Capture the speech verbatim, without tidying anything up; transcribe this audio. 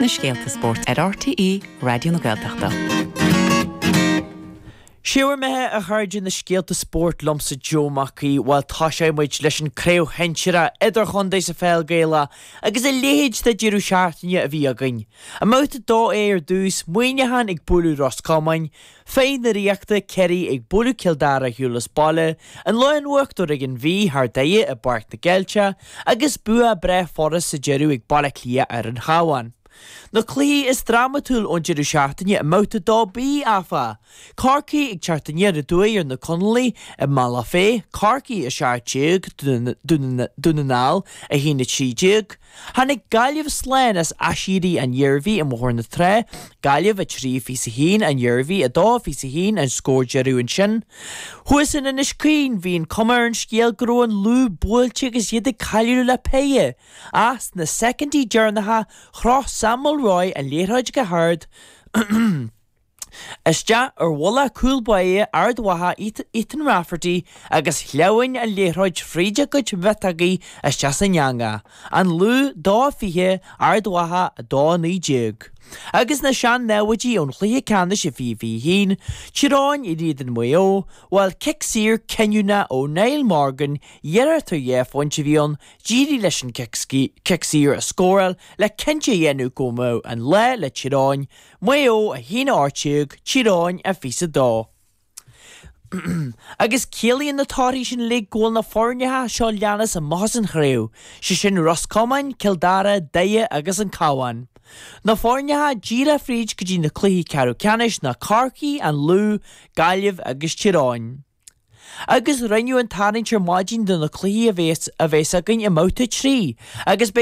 Na scéalta spóirt ar RTÉ Raidió na Gaeltachta. Sé bhur mbeatha a chairde na scéalta spóirt liomsa Joe Mac Aoidh bhuel tosóidh muid leis an craobh shinsearach idirchontae sa pheil Gaelach agus a leithéid de deireadh seachtaine a bhí againn. I mbabhta dó A ar dtús, Muineachán ag bualadh Ros Comáin, Fear na Ríochta Ciarraí ag bualadh Cill Dara ar shiúl as baile, an lámh in uachtar ag an Mhí thar Doire i bPáirc na gCeilteach agus bua breá furast sa deireadh ag Baile Átha Cliath ar an Chabhán. Na cluichí is drámatúil ón deireadh seachtaine i mbabhta dó B áfach. Corcaigh ag teacht aniar aduaidh ar na Conallaigh i mBealach Féich, Corcaigh a seacht déag, Dún na nGall a haon a trí déag. Tháinig Gaillimh slán as Aiséirí an Iarmhí i mBóthar na Trá, Gaillimh a trí fiche a haon, an Iarmhí a dó fiche a haon an scór deireadh ansin. Thuas in Inis Caoin bhí an cuma ar an scéal go raibh an Lú buailte agus iad ag cailleadh le péire. Ach sna soicindí deireanacha chroch Sam Mulroy an liathróid go hard Isteach ar bhuille cúl báire Ard Mhacha Ethan Rafferty agus shleamhain an liathróid fríd a gcuid miotógaí isteach san eangach. An Lú dó fiche Ard Mhacha dó naoi déag. Agus na sean-naimhde ón chluiche ceannais i fiche fiche haon, Tír Eoghain in éadan Mhaigh Eo, bhuel cic saor cinniúnach ó Niall Morgan, iarracht ar dhá phointe a bhí ann, d'éirigh leis an cic saor a scóráil le cinnte a dhéanamh go mbeadh an lá le Tír Eoghain, Maigh Eo a haon a hocht déag, Tír Eoghain a fiche a dó. Agus ciallaíonn na torthaí sin uilig go bhfuil na foirneacha seo leanas amach as an chraobh, sé sin Ros Comáin, Cill Dara, Doire agus an Cabhán. Na foirneacha díreach fríd go dtí na cluichí ceathrú ceannais ná Corcaigh, an Lú, Gaillimh agus Tír Eoghain. Agus rinneadh an tarraingt ar maidin do na cluichí a bheas a bheas againn i mbabhta trí, agus beidh